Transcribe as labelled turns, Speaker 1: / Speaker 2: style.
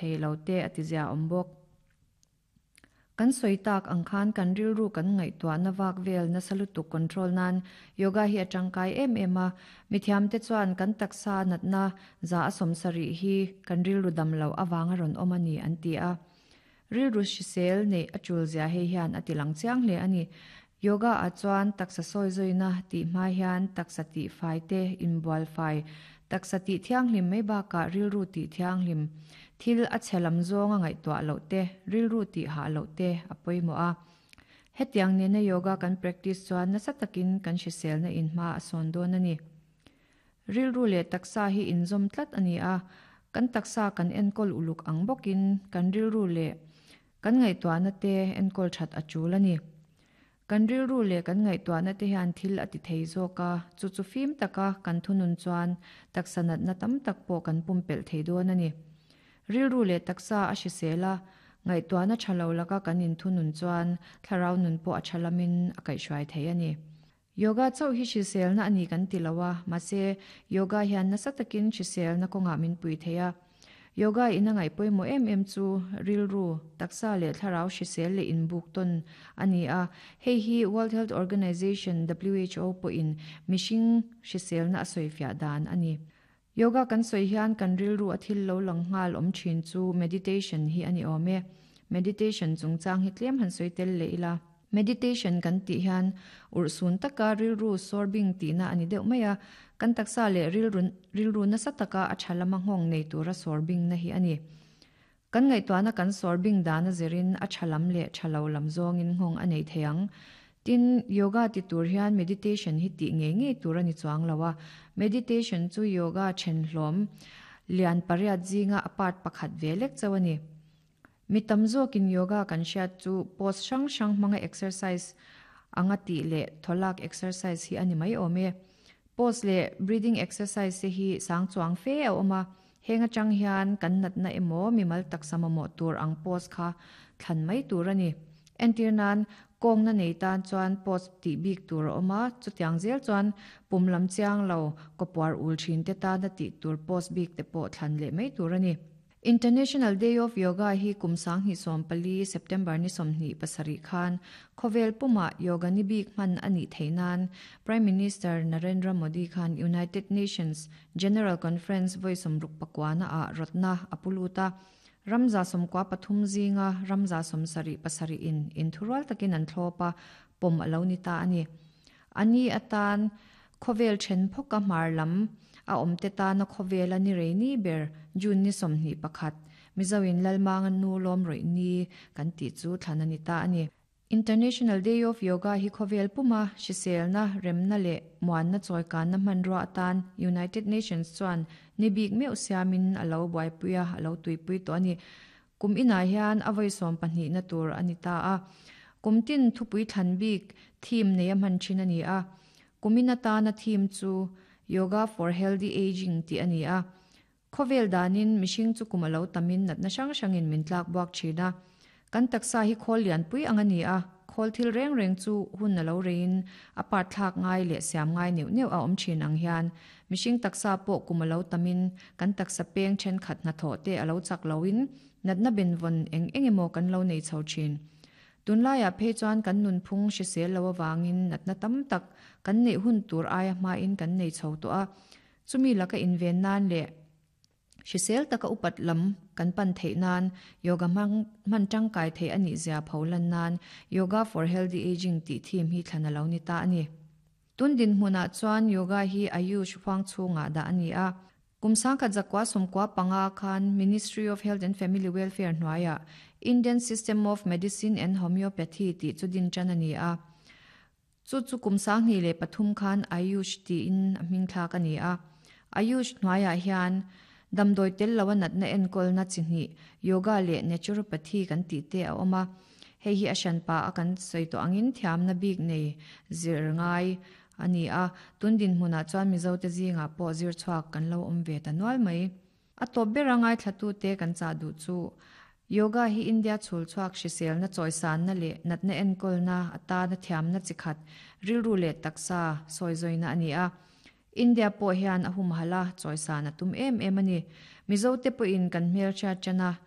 Speaker 1: thei lo te a ti zia awm bawk. Kan sawi tak ang khan kan rilru kan ngaihtuahna vak vel nasa lutuk control nan yoga hi a tangkai em em a. Mithiamte chuan kan taksa natna 70% hi kan rilru dam loh avanga rawn awm a ni an ti a. Rilru hrisel neih a tul zia hei hian a ti lang chiang hle a ni. Yoga ah chuan taksa sawi zawina tih hma hian taksa tih fai te, inbual fai, taksa tih thianghlim mai bakah rilru tih thianghlim, thil a chhe lam zawnga ngaihtuah loh te, rilru tih hah loh te a pawimawh a. Hetiang nena yoga kan practice chuan nasa takin kan hriselna in hma a sawn dawn a ni. Rilru leh taksa hi inzawm tlat a ni a, kan taksa kan enkawl uluk ang bawkin kan rilru leh kan ngaihtuahna te enkawl that a tul a ni. Kan rilru leh kan ngaihtuahna te hian thil a ti thei zawk a, chu chu fim taka kan thunun chuan taksa natna tam tak pawh kan pumpelh thei dawn a ni. Rilru leh taksa a hrisel a, ngaihtuahna tha lo laka kan inthunun chuan thlarau nun pawh a tha lamin a kaihhruai thei a ni. Yoga chauh hi hriselna a ni kan ti lo a, mahse yoga hian nasa takin hriselna kawngah min pui thei a. Yoga in a ngaih pawimawh em em chu rilru, taksa leh thlarau hrisel leh inbuk tawn a ni a. Hei hi World Health Organization, who, pawhin mihring hriselna a sawifiah dan a ni. Yoga kan sawi hian kan rilru a thil lo lang nghal awm thin chu meditation hi a ni awm e. Meditation chungchang hi tlem han sawi tel leh ila. Meditation kan tih hian urhsun taka rilru sorbing tihna a ni deuh mai a, kan taksa leh rilru rilru nasa taka a tha lama nghawng nei tura sorbingna hi a ni. Kan ngaihtuahna kan sorbing dana zirin a tha lam leh tha lo lam zawngin nghawng a nei thei ang. Tin, yoga ti tur hian meditation hi tih ngei ngei tur a ni chuang lo a. Meditation chu yoga then hlawm lian pariat zinga a part pakhat ve lek chauh a ni. Mi tam zawkin yoga kan hriat chu pose hrang hrang hmanga exercise anga tih leh thawlak exercise hi a ni mai awm e. Pose leh breathing exercise te hi sang chuang fe a awm a, heng atang hian kan natna emaw mimal taksa mamawh tur ang pose kha thlan mai tur a ni. Entir nan, kawngna nei tan chuan pose tih bik tur a awm a, chutiang zel chuan pum lam chiang lo kawpuar ul thin te tana tih tur pose bik te pawh thlan leh mai tur a ni. International Day of Yoga hi kum 2014 September ni 27 khan khawvel puma yoga ni bik hman a nih theih nan Prime Minister Narendra Modi khan United Nations General Conference vawi 69 ah rawtna a pu lut a. Ram 93 zinga ram 77 in inthurual takin an thlawp a, pawm a lo ni ta a ni. A ni atan khawvel then phawka hmar lam a awm te tana khawvela ni rei ni ber June ni 21, Mizoin Lalmanga nu lawm rawih ni kan tih chu thlan a ni ta a ni. International Day of Yoga hi khawvel puma hriselna, remna leh muanna chawikanna hmanrua atan United Nations chuan ni bik meuh siamin a lo buaipui a, a lo tuipui tawh a ni. Kum inah hian a vawi 12 na tur a ni ta a. Kum tin thupui thlan bik theme nei a hman thin a ni a. Kum in atana theme chu Yoga for Healthy Aging tih a ni a. Khawvel danin mihring chu kum a lo tamin natna hrang hrangin min tlak buak thin a. Kan taksa hi khawl lianpui ang a ni a, khawl thil reng reng chu hun a lo reiin a part thlak ngai leh siam ngai neuh neuh a awm thin ang hian mihring taksa pawh kum a lo tamin kan taksa peng thenkhat hnathawh te a lo chak loin natna benvawn eng eng emaw kan lo nei chho thin. Tunlaiah phei chuan kan nunphung hrisel lo avangin natna tam tak kan neih hun tur aia hmain kan nei chho tawh a, chumi laka inven nan leh hrisel taka upat lam kan pan theih nan yoga hmang hman tangkai theih a nih zia pho lan nan Yoga for Healthy Aging tih theme hi thlan a lo ni ta a ni. Tun dinhmunah chuan yoga hi Ayush huang chhungah dah a ni a. Kum 1995 khan Ministry of Health and Family Welfare hnuaiah Indian System of Medicine and Homeopathy tih chu din tan a ni a. Chu chu kum 2003 khan Ayush tiin a hming thlak a ni a. Ayush hnuaiah hian damdawi tel lo a natna enkawlna chi hnih yoga leh naturopathy kan tih te a awm a. Hei hi a hranpa a kan sawi tawh angin thiamna bik nei zir ngai a ni a. Tun dinhmunah chuan Mizo te zingah pawh zir chhuak kan lo awm ve ta nual mai. A tawp bera ngaithlatute kan chah duh chu yoga hi India chhul chhuak hriselna chawisanna leh natna enkawlna atana thiamna chi khat rilru leh taksa sawi zawina a ni a. India pawh hian a humhalh a, chawisan a tum em em a ni. Mizo te pawhin kan hmelhriat tan a.